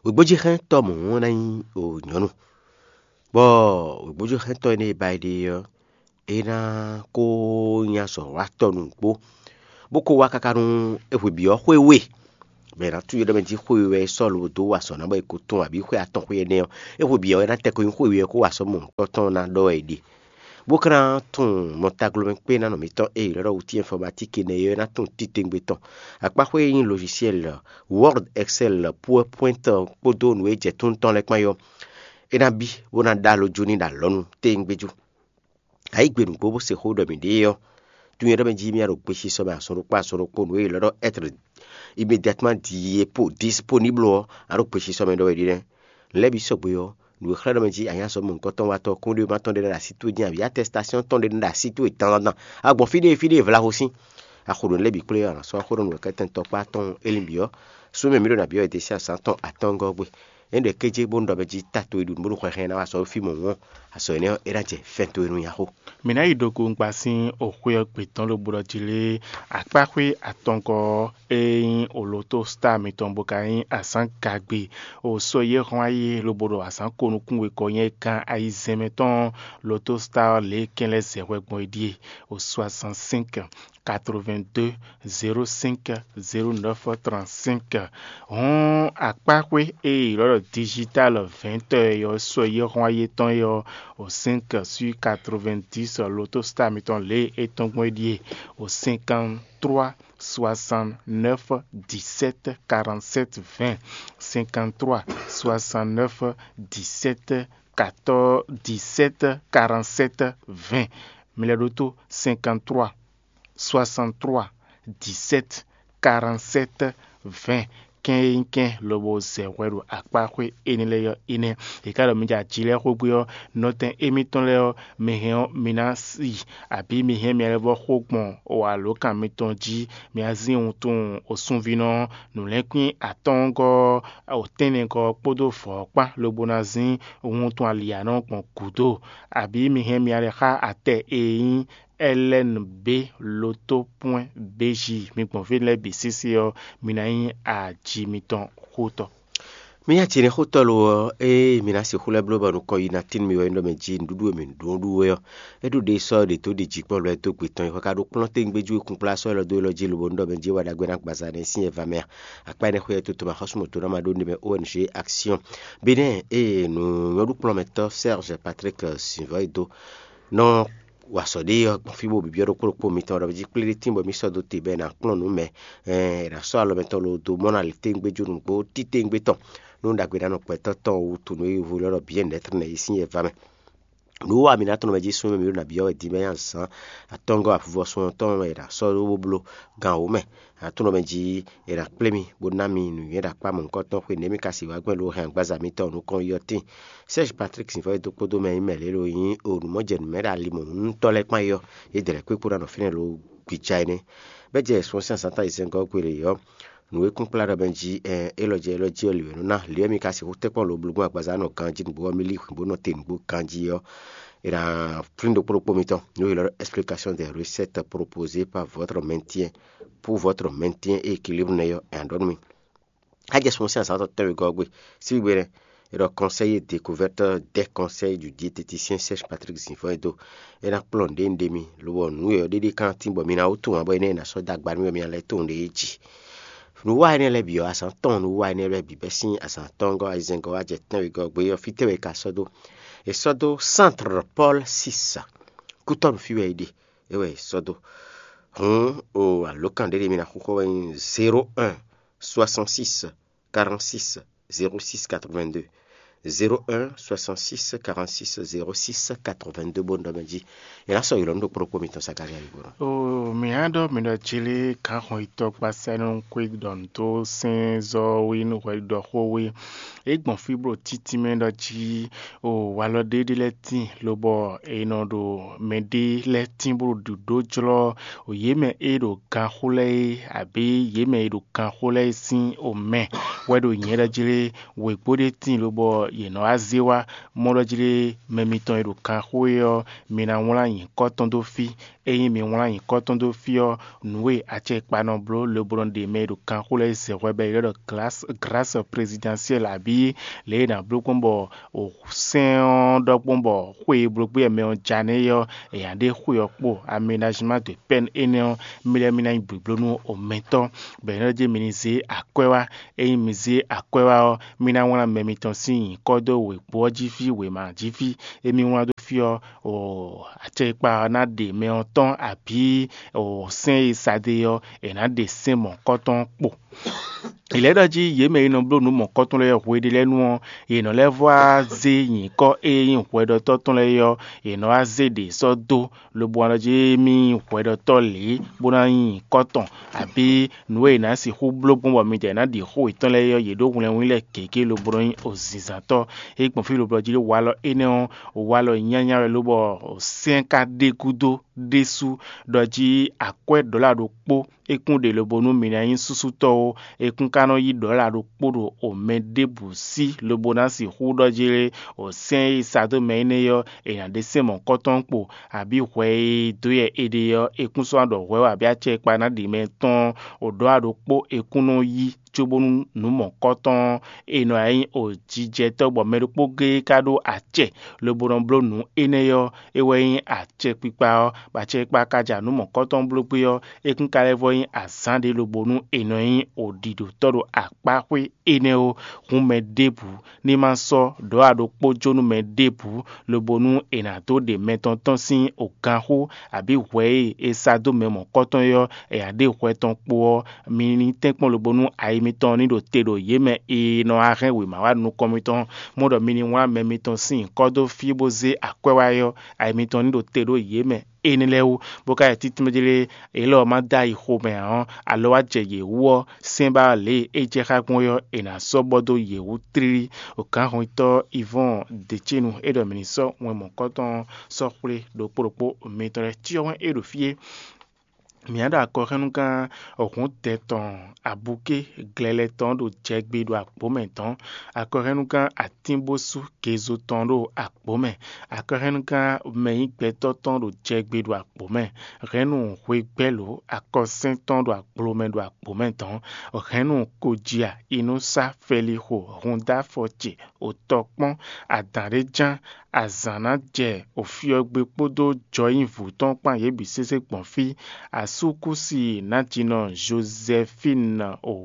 Wěgbójíxɛ́ntɔ́ mɔ̌ ná nyí o nyɔ̌nu, bɔ wěgbójíxɛ́ntɔ́ énɛ́ e ba yi ɖe ɔ́, é ná kó nyí azɔ̌watɔ́ nǔgbó, bó kó wá káká nú é hwebi ɔ́ xwé we. bɔ è nǎ tunwun ɖɔ mɛ jí xwe wɛ é sɔ́ lobo dó wa azɔ̌ ná bɔ è ko tunwun abǐ xwe atɔn xwe énɛ́ ɔ́, é xwe bǐ ɔ́, é ná tɛ́ ko nyí xwe wɛ ɔ́ kó wa azɔ̌ mɔ̌hunkɔtɔn ná ɖɔ wɛ è ɖe. Bó ka ná tunwun mɔtaglomɛ kpé ná nɔ mǐtɔn e è ylɔ́ ɖɔ outil informatique énɛ́ é ɔ́, é ná tunwun titewungbe tɔn. Akpáxwé e nyí logiciel Word, Excel, PowerPoint kpódó nǔ e jɛ tún tɔn lɛ́ɛ kpán é ɔ́, é ná bí bó ná ɖó alɔ jó n'i ɖo alɔnu téwúngbéjú. Ayǐ gbe nǔgbó bó se xó ɖɔ mǐ ɖe é ɔ́, tunwun ɖɔ mɛ jí mì ɖo gbesisɔ mɛ azɔn ɖokpó azɔn ɖokpó nǔ e è ylɔ́ ɖɔ être immédiatement disponible ɔ́, a ɖo gbesisɔ mɛ ɖɔ wɛ ɖi nɛ́. Lɛ́ bǐ sɔgbe ɔ́, nǔ e xlɛ́ ɖɔ mɛ jí a nyí azɔ̌ mɔ̌hunkɔtɔn watɔ́ kúnɖéwéma tɔn ɖé ɖo así towe dín abǐ atɛsitasɔn tɔn ɖé ɖo así towe dandan a gbɔn fí ɖé fí ɖé vlavo sín. A xo ɖo nǔ lɛ́ɛ bǐ kplé ɔ́, a nǎ sɔ́ xó ɖɔ nǔ wɛ kɛ́tɛn tɔkpá tɔn élinbǐ ɔ́, sú mɛ mǐ ɖo nǎ byɔ́ wɛ desi azǎn tɔn atɔ́ngɔ́ ɔ́ gbe. É ɖɔ kéjé bónú ɖɔ mɛ jí ta towe ɖu nǔ bónú hwɛhɛn ná wá sɔ́ fí mɔ̌hun ɔ́, azɔ̌ énɛ́ ɔ́, é ná jɛ fɛ́n towe nu nyaxó. Mǐ ná yi ɖo kúngba sín oxwé ɔ́ gbe tɔn ɖo bo ɖɔ jí lé akpáxwé atɔngɔ́ ɔ́ e nyí olotostar mitɔn bó ka nyí azǎn gagbe o sɔ́ yi e hɔn ayé lobo ɖo azǎn ko nukún wegɔ́ nyɛ gán ayizɛ́n mɛ tɔn lotostar ɔ́ lě e kɛn lɛ́ɛ zɛ hwɛ gbɔn é ɖíe o soixante-cinq quatre-vingt-deux zéro cinq zéro neuf trente-cinq. Hɔn akpáxwé e è ylɔ́ ɖɔ digital vɛ̌ntɔ́ ɔ́ sɔ́ yi e hɔn ayé tɔn é ɔ́, o cinq sur quatre-vingt-dix lotostar mitɔn lě e é tɔn gbɔn é ɖíe o cinquante-trois soixante-neuf dix-sept quarante-sept vingt, cinquante-trois soixante-neuf dix-sept quatorze dix-sept quarante-sept vingt. Mi lɛ́ ɖótó cinquante-trois soixante-trois dix-sept quarante-sept vingt. Kɛn e nyí kɛn lobo zɛ hwɛ ɖo akpáxwé énɛ́ lɛ́ɛ ɔ́ énɛ́. È ka ɖɔ mi jɛ aji lɛ́ɛ xwé gbe ɔ́, nɔtɛn émítɔn lɛ́ɛ ɔ́, mi hɛn ɔ́, mi ná yi, abǐ mi hɛn mì lɛ́ vɔ́ xo gbɔn alǒkan mitɔn jí. Mi ná zín wuntun osunvínɔ nǔlɛ́nkwín atɔ́ɔ́ngɔ́, otɛ́nnɛgɔ́ kpódó vɔ̌ kpán lobo ná zín wuntun aliyanɔ gbɔn gǔdo, abǐ mi hɛn mì lɛ́ xá atɛ e nyí L N B loto pwɛ́n B J. Mi gbɔn fí lɛ́ɛ bǐ sésé ɔ́, mi ná nyí aji mitɔn xótɔ́. Mì nyi atinɛxótɔ́ lo ɔ́, ée mǐ ná sixú lɛ́ bló bɔ nukɔn yi ná tín mì wɛ é ɖɔ mɛ jí nǔɖuɖu e mǐ ɖó ɖu wɛ ɔ́, é ɖo ɖe sɔ́ ɖě dó ɖi jǐkpɔ́vlɛ́ dó gbe tɔn yi hwɛ ka ɖo kplɔ́n tégbéjú e kún kplá sɔ́ élɔ́ dó élɔ́ jí lobo nú ɖɔ mɛ jí wɛ ɖagbe ná gbaza nɛ́ sín yɛ va mɛ a? Akpá énɛ́ xwé ɛ toto ma xɔ́súmɔtò ná ma ɖó nɖé mɛ O N G Action Bénin ée nǔ nyɔ́ɖukplɔ́nmɛtɔ́ Serge Patrick Sinvɔ́ e dó nɔ wa sɔ ɖé ɔ́ gbɔn fí bó bibyɔ́ ɖokpó ɖokpó mitɔn ɖɔ jí kplé ɖé tín bɔ mǐ sɔ́ dó te bɔ è nǎ kplɔ́n nǔ mɛ, ɛ, è nǎ sɔ́ alɔ mɛtɔn lo dó mɔ ná lě tégbéjú nǔgbó títewungbe tɔn nú ɖagbe ná nɔ gbɛtɔ́ tɔn wú tunu e yovó lɛ́ ɖɔ biɛ́nɛ́trɛ́ nɛ́ yi sín yɛ va mɛ. Nǔ wa mǐ ná tɔn mɛ jí súnnu mǐ ɖo nǎ byɔ́ wɛ din bɔ é nyí azǎn atɔ́ngɔ́ avuvɔsun ɔ́ tɔn mɛ è nǎ sɔ́ ɖó bó bló gan wǒ mɛ. Aklúnɔ mɛ jí è nǎ kplé mì bó ná mi nǔnywɛ́ ɖo akpá mɔ̌hunkɔtɔn xwe nɛ̌ mi ka sixú wá gbɛn ɖo hɛn agbaza mitɔn nukɔn yi ɔ́ tíin. Serge Patrick Sinvɔ́ e dó kpódó mɛ e nyí mɛ lě ɖo nyí o nǔmɔjɛnǔmɛ ɖo ali mɔ̌huntɔ́ lɛ́ɛ kpán yi ɔ́, yě dɛ lɛ́ kpékpó ná nɔ fínɛ́ ɖo gbija énɛ́. Bɛ́ jɛ sɔ́ sín azǎn táyizɛ́ngɔ́ gbe lě ɔ́, nǔ e kún kplá ɖɔ mɛ jí, ɛn, élɔ́ jɛ élɔ́ jí ɔ́ lǐ wɛ nú ná. Lǐ wɛ mi ka sixú tɛ́nkpɔ́n lo bló gbɔn agbaza nɔ ganjí nǔgbó ɔ́, mi lí xwǐn bó nɔ te nǔgbó ganjí ɔ́, è nǎ flín ɖokpó ɖokpó mitɔn nǔ e è ylɔ́ ɖɔ explication des recettes proposées par votre maintien pour votre maintien et équilibre nɛ́ ɔ́, è nǎ ɖɔ nú mi. Á jɛ sun sín azǎn tɔn tɛ́nwegɔ́ ɔ́ gbe, síbígbe nɛ́, è ɖɔ conseil et découverte des conseils du diététicien Serge Patrick Zinfɔ́n e dó. É ná kplɔ́n nǔɖé nǔɖé mi, lobɔ nǔ e ɔ́ ɖéɖé ka ná tín bɔ mi ná wú tunwun ǎ bɔ énɛ́ è nǎ sɔ́ dó agba nú mì bɔ mi ná lɛ́ tunwun ɖě jí. Nǔwa énɛ́ lɛ́ɛ bǐ ɔ́, azǎn tɔn nǔwa énɛ́ lɛ́ɛ bǐ bɛ́ sín azǎn atɔ́ɔ́ngɔ́ ayizɛ́ngɔ́ wá jɛ tɛ́nwegɔ́ gbe ɔ́, fítɛ́ wɛ è ka sɔ́ dó? È sɔ́ dó Centre Paul six, Kútɔ́nu fí wɛ è ɖe, é wɛ è sɔ́ dó. Hǔn o alǒkan ɖé ɖé mi ná xixɔ wɛ nyí zéro un soixante six quarante six zéro six quatre vingt deux. Zéro un soixante six quarante six zéro six quatre vingt deux bó nɔ mɛ jí. È nǎ sɔ́ ylɔ̌ nú ɖokpó ɖokpó mitɔn Zakaria yi gbo ná. O mǐ á ɖɔ mǐ ɖɔ jlé gǎnxɔn yitɔ́ gbasá nɔ xwé ɖɔ nǔ tó sɛ́n zɔ́ wé nú hwɛ ɖɔ xó wé. É gbɔn fí bó títí mɛ ɖɔ jí o walɔ ɖé ɖé lɛ́ɛ tíin, lobɔ è nɔ ɖo mɛɖé lɛ́ɛ tín bó ɖo ɖǒ jlɔ́ o yě mɛ e ɖo ganxó lɛ́ɛ é, abǐ yě mɛ e ɖo ganxó lɛ́ɛ é sín o mɛ wɛ ɖo nyɛ̌ ɖɔ jlé. Wěgbó ɖé tíin lobɔ yě nɔ wá zé wá mɔ ɖɔ jlé mɛ mitɔn e ɖo ganxó é ɔ́, mi ná wlán nyǐkɔ tɔn dó fí. Ényí mi wlán nyǐkɔ tɔn dó fí ɔ́, nǔ e acɛkpa nɔ bló lobo nɔ ɖe mɛ e ɖo ganxó lɛ́ɛ zɛ hwɛ bɔ è ylɔ́ ɖɔ grâce présidentielle abǐ yí lě e è nǎ bló gbɔn bɔ sɛ́n ɔ́ ɖɔ gbɔn bɔ xwe e bló gbé wɛ mɛ ɔ́ ja nɛ́ é ɔ́, è nǎ ɖe xwe ɔ́ kpo. Aménajima de pɛ́n énɛ́ ɔ́, mi lɛ́ mi ná nyí blǒbló nú omɛtɔ́, bɔ è nɔ ɖɔ jí mi ní zé akwɛ́ wá. Ényí mi zé akwɛ́ wá ɔ́, mi ná wlán mɛ mitɔn sín nyǐkɔ dó wěkpo ɔ́ jí fí, wěma jí fí. Émí wlán dó fí ɔ́, acɛkpa ɔ́ ná ɖe mɛ ɔ́ tɔn abǐ sɛ́n e sa dó é ɔ́, è nǎ ɖe sɛ́n mɔ̌kɔ́tɔn kpo. È lɛ́ ɖɔ jí yě mɛ e nɔ bló nǔ mɔ̌kɔ́tɔn lɛ́ɛ hweɖé lɛ́ɛ nu ɔ́, yě nɔ lɛ́ vɔ wá zé nyǐkɔ e nyí hwɛɖɔtɔ́ tɔn lɛ́ɛ é ɔ́, yě nɔ wá zé ɖě sɔ́ dó, lobo wá ɖɔ jí émí nyí hwɛɖɔtɔ́ lě bó ná nyí nyǐkɔ tɔn, abǐ nǔ e è nǎ sixú bló gbɔn bɔ midɛɛ ná ɖi xó yětɔn lɛ́ɛ é ɔ́, yě ɖó hwlɛngún lɛ́ɛ gěgé lobo nɔ nyí ozinzǎntɔ́. É gbɔn fí lobo jí walɔ énɛ́ ɔ́, walɔ nyanya wɛ lobɔ sɛ́n ka ɖe gúdo ɖésú ɖɔ jí akwɛ́ ɖɔ̌la ɖokpó é kún ɖe lobo nú mi ná nyí súsútɔ́ ó. È kún ka nɔ yí ɖɔ̌la ɖokpó ɖo omɛ ɖěbǔ sí lobo ná sixú ɖɔ jí lé, o sɛ́n e sa dó mɛ énɛ́ ɔ́, è nǎ ɖe sɛ́n mɔ̌kɔ́tɔn kpo, abǐ hwɛ e dó yɛ è ɖe ɔ́, è kún sɔ́ ná ɖɔ hwɛ wɛ abǐ acɛ e kpa ná ɖi mɛ tɔn o ɖɔ̌la ɖokpó è kún nɔ yí cóbónú nǔ mɔ̌kɔ́tɔn e nɔ wá nyí o jijɛtɔ́ bɔ mɛ ɖokpó géé ka ɖó acɛ lobo nɔ bló nǔ énɛ́ ɔ́, é wɛ nyí acɛkpikpa ɔ́, bɔ acɛkpikpa ka ja nǔ mɔ̌kɔ́tɔn bló gbé ɔ́, é kún ka lɛ́ vɔ nyí azǎn ɖé lobo nú è nɔ nyí oɖiɖotɔ́ ɖo akpáxwé énɛ́ ó. Hǔn mɛ ɖěbǔ ní ma sɔ́ ɖɔ̌ aɖokpó jó nú mɛ ɖěbǔ, lobo nú è nǎ dó ɖe mɛ tɔn tɔn sín oganxó, abǐ hwɛ e è sa dó mɛ mɔ̌kɔ́tɔn é ɔ́, è nǎ ɖe hwɛ tɔn kpo ɔ́, mi ní tɛ́nkpɔ́n lobo nú ayi mitɔn ní ɖo te ɖo yě mɛ e nɔ wá hɛn wěma wá nukɔn mitɔn, mɔ ɖɔ mi ní wlán mɛ mitɔn sín nyǐkɔ dó fí bó zé akwɛ́ wá é ɔ́, ayi mitɔn ní ɖo te ɖó yě mɛ énɛ́ lɛ́ɛ wú, bó ka yi títúnmɛ jlé élɔ́ ɔ́ ma dó ayi xomɛ ǎ ɔ́, alɔ wá jɛ yě wú ɔ́, sɛ́n ba lě e é jɛ xá gbɔn é ɔ́, è nǎ sɔ́ bɔ dó yě wú tlílí. Gǎnhɔntɔ́ Ivɔ́ɔn Decénu é ɖɔ mǐ ní sɔ́ wɛn mɔ̌kɔ́tɔn ɔ́ sɔ́ xwlé ɖokpó ɖokpó mitɔn lɛ́ɛ. Cyɔ wɛn é ɖo fí é. Mǐ á ɖo akɔhɛ́nnugán hǔndɛ tɔn abuké glɛlɛ tɔn ɖo jɛgbe ɖo agbǒ mɛ dɔ̌n, akɔhɛ́nnugán atínbósú gezo tɔn ɖo agbǒ mɛ, akɔhɛ́nnugán mɛnyígbɛtɔ́ tɔn ɖo jɛgbe ɖo agbǒ mɛ, hɛ̌nnu hwegbɛ́lǒ akɔsɛ́n tɔn ɖo agblo mɛ ɖo agbǒ mɛ dɔ̌n, hɛ̌nnu kojia inúsá fɛlixo húndáfɔ ce òtɔkpɔ́n adǎn ɖé ján, azǎn ná jɛ ofyɔ́gbé kpódó jɔyínvú tɔn kpán yě bǐ sésé gbɔn fí. Asúkúsi nǎjínɔ Jozɛfín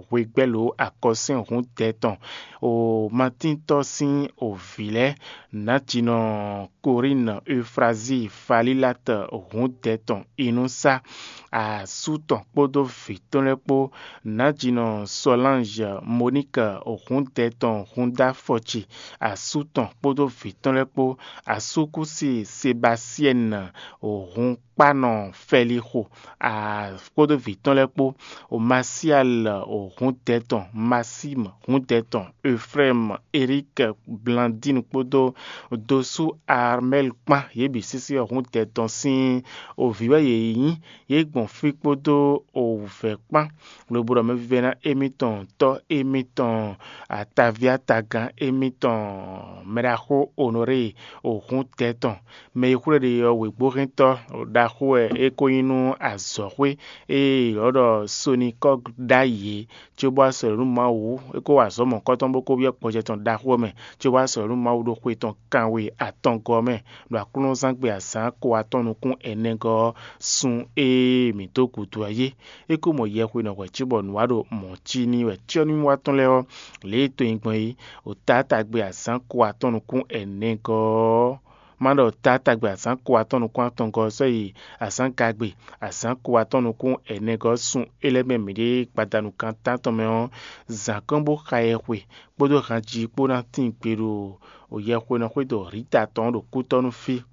hwegbɛ́lǒ akɔsɛ́n hǔndɛ tɔn, o Matíntɔ́ sín o vǐ lɛ́ɛ, nǎjínɔ Korín Eufrazíi Falílat hǔndɛ tɔn inúsá, asú tɔn kpódó vǐ tɔn lɛ́ɛ kpó, nǎjínɔ Sɔlánj Moník hǔndɛ tɔn húndáfɔci, asú tɔn kpódó vǐ tɔn lɛ́ɛ kpó, asúkúsi Sebasiɛ́n hǔnkpánɔ Fɛlixo kpódó vǐ tɔn lɛ́ɛ kpó, Masial hǔndɛ tɔn, Masím hǔndɛ tɔn, Eflɛ́m, Erík, Blandín kpódó dosú Armɛ́l kpán, yě bǐ sísí ɔ́ hǔndɛ tɔn sín vǐ wɛ yě nyí. Yě gbɔn fí kpódó wǔvɛ́ kpán, lobo ɖɔ mɛvívɛ́ná émítɔn tɔ́ émítɔn atavíatagán émítɔn mɛɖaxó Onorée hǔndɛ tɔn. Mɛ e xwlé ɖe ɔ́ wěgbóhɛntɔ́ ɖaxó wɛ é ko nyí nú azɔ̌xwé e è ylɔ́ ɖɔ Sonikɔ́g ɖ'ayǐ é, cóbó wá sɔ́ nǔ Mawu, é ko wa azɔ̌ mɔ̌kɔ́tɔn bó ko byɔ́ gbɔjɛ tɔn ɖaxó ɔ́ mɛ, cóbó wá sɔ́ nǔ Mawu ɖo xwe tɔn kanwe atɔngɔ́ ɔ́ mɛ, ɖo aklúnɔzán gbe azǎn ko atɔn nukún ɛnɛgɔ́ ɔ́, sun e mǐ dó gǔdo ɔ́ yé. É ko mɔ yɛhwenɔ hwɛ̌ cóbɔ nǔ wa ɖo mɔ̌ cí n'i wɛ cyɔ́númíwa tɔn lɛ́ɛ ɔ́, lě e to nyi gbɔn é, ɖo taátagbe azǎn ko atɔn nukún ɛnɛgɔ́ ɔ́, má ɖɔ taátagbe azǎn ko atɔ́ɔ́n nukún atɔngɔ́ ɔ́ sɔ́ yi azǎn gagbe azǎn ko atɔ́ɔ́n nukún ɛnɛgɔ́ ɔ́ sun é lɛ́ɛ mɛ mǐɖée gbadanu kan tántɔn mɛ ɔ́, zǎn kɔn bó xa yɛhwe kpódó hanjí kpó ná tín gbe ɖo yɛhwenɔ xwédo Rita tɔn ɔ́ ɖo kútɔ́ nú fí.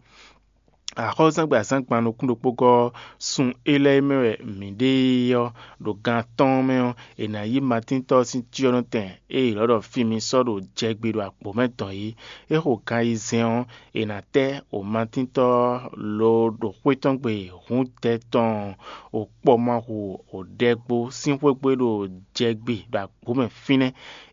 Axɔ́zán gbe azǎn gban nukún ɖokpó gɔ́ ɔ́, sun é lɛ́ɛ mɛ wɛ mǐ ɖe é ɔ́, ɖo gan atɔ́ɔ́n mɛ ɔ́, è nǎ yí Matíntɔ́ ɔ́ sín cyɔ́nɔtɛn e è ylɔ́ ɖɔ Fimi sɔ́ ɖo jɛgbe ɖo akpǒ mɛ dɔn é. É xo gan ayizɛ́n ɔ́, è nǎ tɛ́ o Matíntɔ́ ɔ́ lo ɖo xwé tɔn gbe hǔndɛ tɔn o kpɔmɔhu o ɖɛgbo sín xwé gbe ɖo jɛgbe ɖo akpǒ mɛ fínɛ́.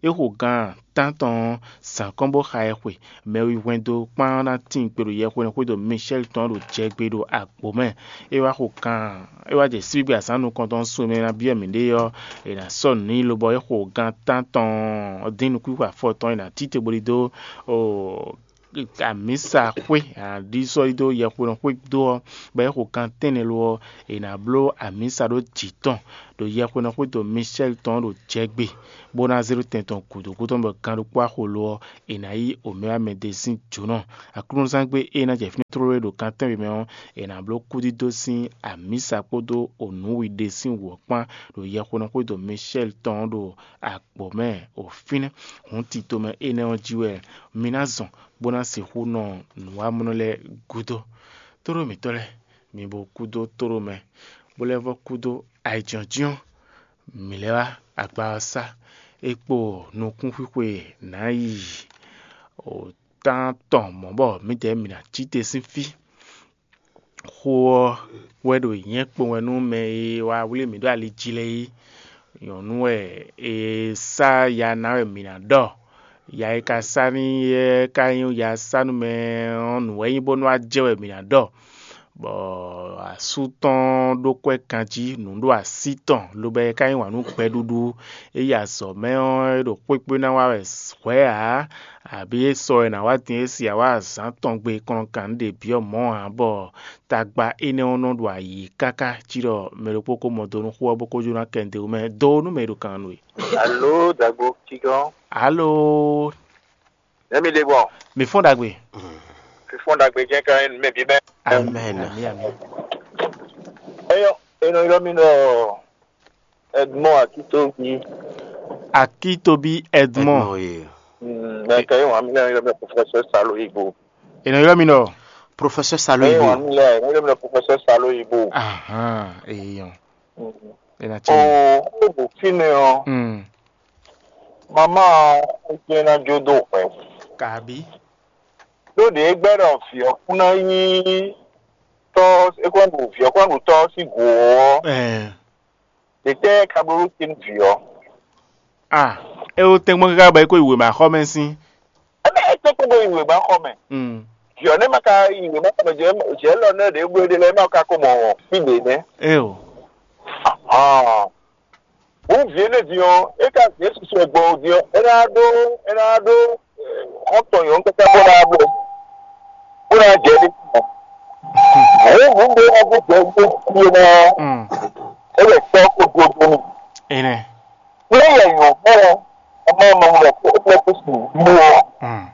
É xo gan tántɔn ɔ́, zǎn kɔn bó xa ɛ xwe. Mɛ wi hwɛndo kpán ná tín gbe ɖo yɛhweɖɛnxwé ɖo Michɛ́l tɔn ɖo jɛgbe ɖo agbo mɛ. É wá xo kan, é wá jɛ síbígbe azǎn nukɔntɔn sú e mɛ ná byɔ́ mǐɖée ɔ́, è nǎ sɔ́ nǔ n'i lobɔ é xo gan tántɔn dín nukúnxwe afɔ tɔn, è nǎ cí te bó ɖidó amǐsa xwé, è nǎ ɖi sɔ́ yi dó yɛhweɖɛnxwé dó ɔ́, bɔ é xo gan tɛ́nnɛ lo ɔ́, è nǎ bló amǐsa ɖó jǐ tɔn ɖo yɛhweɖɛnxwé ɖo Michɛ́l tɔn ɖo jɛgbe, bó ná zé ɖó tɛn tɔn gǔdo gúdo tɔn bɔ gan ɖokpó axo lo ɔ́, è nǎ yí omɛwámɛ ɖé sín jǒnɔ. Aklúnɔzángbe e ná jɛ fínɛ́ tlóló é ɖo kan tɛ́nwe mɛ ɔ́, è nǎ bló kúdídó sín amǐsa kpódó onǔwi ɖé sín wǔ ɔ́ kpán ɖo yɛhweɖɛnxwé ɖo Michɛ́l tɔn ɔ́ ɖo agbǒ mɛ ɖo fínɛ́. Hǔn tito mɛ énɛ́ ɔ́ jí wɛ mi ná zɔn bó ná sixú nɔ nǔwamlɔ́ lɛ́ɛ gúdo. Tóɖó mǐtɔn lɛ́ɛ, mi bo kúdó tóɖó mɛ, bó lɛ́ vɔ́ kúdó ayǐjínjɔ́n mǐ lɛ́ wá agba ɔ́ sá. É kpo nukúnxwixwe nǎ yi tántɔn mɔ̌ bɔ mǐdɛɛ mǐ ná cí te sín fí. Xó ɔ́ wɛ ɖo nyɛ̌ kpowun wɛ nú mɛ e wá wlí mǐ ɖó ali jí lɛ́ɛ é. Nyɔ̌nu wɛ è sá ya ná wɛ mǐ ná ɖɔ. Ya e ka sá n'i é ka nyí ya sá nú mɛ ɔ́, nǔ wɛ nyí bónú wá jɛ wɛ mǐ ná ɖɔ. Bɔ asú tɔn ɖó kwɛ́ ganjí, nǔ ɖo así tɔn, lobo é ka yí wǎn nú gbɛɖuɖu. É yi azɔ̌ mɛ ɔ́, é ɖo xwékpé ná wa wɛ hwɛ̌ ǎ, abǐ é sɔ wɛ è nǎ wá din é si awǎ azǎn tɔn gbe kplɔ́nkan ɖě byɔ́ mɔ̌ ǎ, bɔ tagba énɛ́ ɔ́ nɔ ɖo ayǐ káká cí ɖɔ mɛ ɖokpó ko mɔ do nú xó ɔ́ bó ko jó ná kɛ nǔɖé wú mɛ. Do nú mɛ e ɖo kan nú we. Alo, dagbo kígɔ́n. Alo. Nɛ̌ mi ɖe gbɔn? Mi fɔ́n ɖagbe. Fífɔ́n ɖagbe jɛ́n ká nyí nǔ mɛ bǐ mɛ. Amen. Ami, ami. Eyɔ, enɔ ylɔ́ mì ɖɔ Edmond Akitobi. Akitobi Edmond. Edmond, ye. Mm, mɛ kɛ yé wà mí lɛ ylɔ́ mì ɖɔ professeur Salo Igbo. Enɔ ylɔ́ mì ɖɔ. Professeur Salo Igbo. Yé wà mí lɛ ylɔ́ mì ɖɔ professeur Salo Igbo. Ahan, eyɔn. Mm. Ena tsi. O, o ɖo fínɛ́ ɔ́. Mm. Mama ɔ́, é jɛ́n ná jó dó hwɛ. Kabi. Ɖó ɖě é gbɛ́ ɖɔ vǐ ɔ́ kún ná nyí tɔ́, é kún ná ɖu vǐ ɔ́ kún ná ɖu tɔ́ ɔ́ sín gǔ ɔ́, Ɛɛ. Ɖě tɛ́ ka bló ɖó te nú vǐ ɔ́? Ah, é wú tɛ́nkpɔ́n káká bɔ é kó yi wěma xɔ mɛ sín. Ebe é tɛ́nkpɔ́n bó yi wěma xɔ mɛ. Mm. Vǐ ɔ́ nɛ́ ma ka yi wěma xɔ mɛ jɛ jɛ lɔ nɛ́ ɖě bó ɖe lɛ́ɛ ma ka ko mɔ fí ɖě nɛ́. Eo. Ah. Hǔn vǐ énɛ́ din ɔ́, é ka zě susu wɛ gbɔn din ɔ́, é ná ɖó é ná ɖó xɔ́ntɔn nyɔ̌nu káká bó ná bló bó ná jɛ ɖé. Hǔn hǔn ɖé ná dó jɛ ɖó fí é ná Mm. É wɛ tɔ́ kó dó dó n'i. Enɛ. Ní yɛ nyɔ̌nu ɔ́, ɔmọ ɔmọ wɛ kó é kó sùn bú ɔ́. Mm.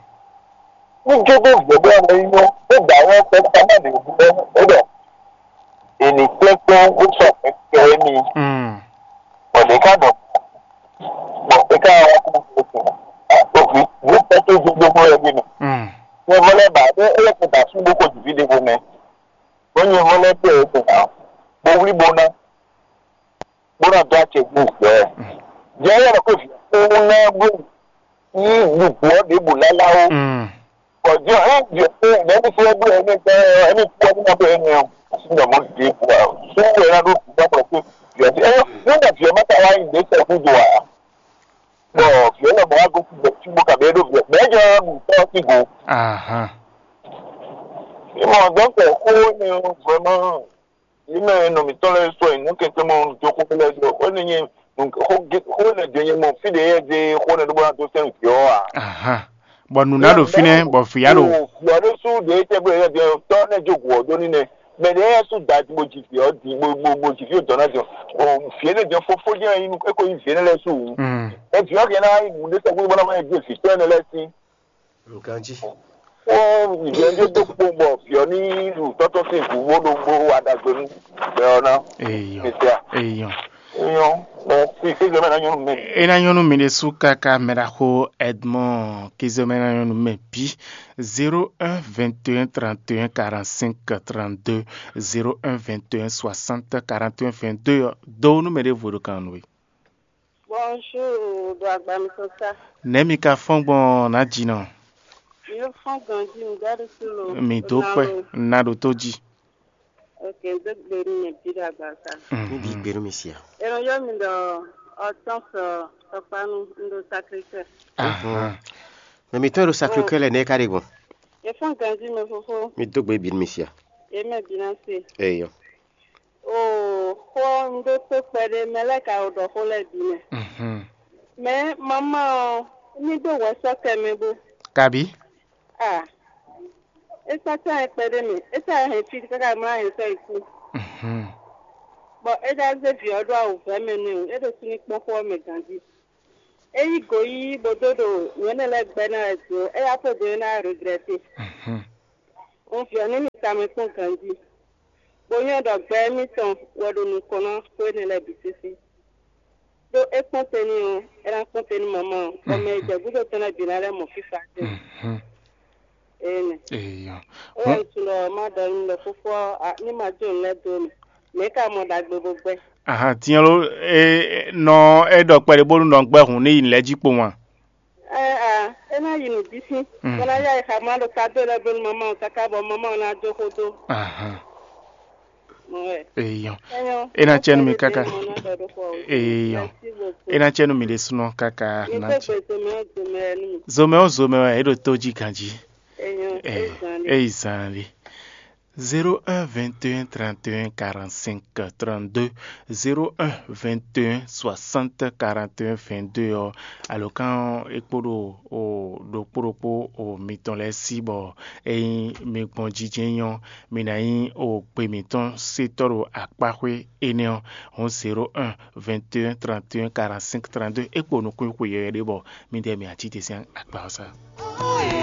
Ní jó dó vǐ ɔ́ bó ná nyí ɔ́, é gbǎ ɔ́ kpɛ́ ká má lè bú ɔ́, é ɖɔ. Ènì kpɛ́kpɛ́ wó sɔ kpɛkpɛ mi. Mm. Bɔ ɖě ká ɖɔ bɔ é ká wá kó kó kó kó vi vi kpɛ́ tó dzogbó mɔ wɛ bí mi. Mm. Nyɛ vɔ lɛ́ ba ɖé é lɛ́ kó da sú bó kó jǐ ví ɖěvo mɛ. Bó nyɛ vɔ lɛ́ kpé é kó ná bó wlí bó ná bó ná dó acɛ gbó gbɛ. Jɛ yɛ lɔ kó vi kó ná bó ní gbogbo ɔ́ ɖěbǔ lálá ó. Mm. Kɔjɔ ɛ jɔ pé mɛmi fún ẹgbẹ́ ẹni tẹ ẹni kú ẹni náà bẹ ẹni ọ sí ní ọmọ dìde bu a sún wẹ náà ló dùn bá pọ̀ pé yọtí ẹ yọ nígbà tí ẹ má ta wá yìí lé sẹ fún do a bọ fìyẹ lọ mọ wá gòkè bẹ tí mo kà bẹ dó fìyẹ bẹẹ jọ nù tọ́ sí go. Ahan. Ìmọ̀ ọ̀dọ́ pẹ̀ kó ní vraiment yìí mẹ́ nọ mǐtɔn lɛ́ɛ sɔ ìnú kɛntɛn mɔ jọ kókó lɛ́ɛ jọ ó ní nyí xó lɛ jọ nyɛ mɔ fí ɖě yɛ dé xó nɛ ɖó bó ná dó sɛn vǐ ɔ́ a. Ahan. Bɔ nǔ ná ɖo fínɛ́ bɔ vǐ á ɖo. Vǐ ɔ́ ɖésú ɖě tɛgbɛ yɛ dé tɔ́ nɛ jó gǔ ɔ́ dó ní nɛ mɛ ɖě yɛ sú da bó ji vǐ ɔ́ di bó bó bó ji vǐ ɔ́ dɔ̌ ná jɔ vǐ énɛ́ jɔ fófó jẹ́ inú é kó nyí vǐ énɛ́ lɛ́ɛ sú wǔ. Mm. Ɛ vǐ ɔ́ kɛ ná nyí nǔ ɖé sɛgbó bó ná má yɛ dé vǐ tɔ́ énɛ́ lɛ́ɛ sín. Nǹkan jí. Ó ìjọ ń dé tó kpó bọ̀ fìọ́ ní ìlú tọ́tọ́ sí ìgbòho ló gbó wa dàgbé nú bẹ́ẹ̀ ná. Èèyàn. Mèsì à. Èèyàn. Èèyàn. Ẹ fi ìkéjọ mẹ́ta yọ̀nù mẹ́rin. E ná nyɔ́ nú mi ɖésú káká mɛ ɖaxó Edmond Kézé mɛ ná nyɔ́ nú mɛ bǐ zéro un vingt et un trente et un quarante-cinq trente-deux zéro un vingt et un soixante quarante et un vingt-deux ɔ́ dó nú mɛ ɖěvo ɖo kan nú we. Bonjour, do agba mi sɔn sa. Nɛ̌ mi ka fɔ́n gbɔn nǎ jǐnɔ? Mi yóò fɔ́n ganjí mi dá ɖé sí lo. Mi dó kpɛ ná ɖo tó jí. Ok, dó gbe nú mi bí do agba sa. Níbi ìgbénu mi sia. Èrò yóò mi ɖɔ Hortense Tɔkpanu, un ɖo Sacré-Cœur. Ahan. Mɛ mitɔn e ɖo Sacré-Cœur lɛ nɛ́ ka ɖe gbɔn? E fɔ́n ganjí mɛ fofo. Mi dó gbe bǐ nú mi sia. Ye mɛ bǐ ná se. Eyɔ. Oo, xó ɔ́, un ɖó tó kpɛɖé, mɛ lɛ́ɛ ka ɖo ɖɔ xó lɛ́ɛ bǐ mɛ. Mhm. Mɛ mamá ɔ́, ní ɖó hwɛ sɔ́ kɛ mɛ bó. Kabí? Ah, é sɔ́ cán ɛ kpɛɖé mɛ. É sɔ́ hɛn fí káká mlá hɛn sɔ́ yi kú. Mhm. Bɔ é ɖá zé vǐ ɔ́ ɖó awǔvɛ́ mɛ nú ɛ, é ɖo súnnu kpɔ́n xó ɔ́ mɛ ganjí. É yí go yíyí bó dó ɖo nǔ énɛ́ lɛ́ɛ gbɛ́ ná wɛ jǒ, é yá fó do é ná regrɛte. Mhm. Un vǐ ɔ́ ní mi tamɛ kpɔ́n ganjí, bó nyɔ́ ɖɔ gbɛ émítɔn wɛ ɖo nukɔn ná xó énɛ́ lɛ́ɛ bǐ sísí. Ɖó é kpɔ́n te n'i ɔ́, é ná kpɔ́n te nú mamá ɔ́, bɔ mɛ e jɛ gúdo tɔn lɛ́ɛ bǐ ná lɛ́ mɔ fífá ce. Mhm. Énɛ́. Eyɔ. É wɛ un tunwun ɖɔ má ɖɔ nú ɖɔ fúfú ɔ́, a- ní ma jó nǔ lɛ́ɛ dó mì. Mɛ̌ ka mɔ ɖagbe bó gbɛ́? Ahan, tinyɔ́ ló, e nɔ e ɖɔ kpɛɖé bónú nɔ gbɛ́ hǔn ní yi nǔ lɛ́ɛ jí kpowun a? Ɛ a, é ná yi nǔ bísí. Mm. Bó ná yá yi xamá ɖo kádó lɛ́ɛ bónú mamá ɔ́ káká bɔ mamá ɔ́ ná jó xó dó. Ahan. Mɔ wɛ. Eyɔ. Éyɔ. É ná cɛ nú mi káká. Eyɔ. É ná cɛ nú mi ɖésúnɔ káká. Mi ná dó cɛ. Gbe zomɛ ɔ́ zomɛ nú mi. Zomɛ ɔ́ zomɛ wɛ é ɖo tó jí ganjí. Eyɔ. É zan lé. É yi zan lé. Zéro un vingt et un trente et un quarante-cinq trente-deux, zéro un vingt et un soixante quarante et un vingt-deux ɔ́, alǒkan ɔ́ é kpo ɖo o ɖokpó ɖokpó o mitɔn lɛ́ɛ sí bɔ ényí mi gbɔn jijɛ nyí ɔ́, mi ná nyí o gbe mǐtɔn sétɔ́ ɖo akpáxwé énɛ́ ɔ́, hɔn zéro un vingt et un trente et un quarante-cinq trente-deux é kpo nukún xwe yɔyɔ̌ ɖé bɔ midɛɛ mi ǎ cí te sín akpa ɔ́ sá.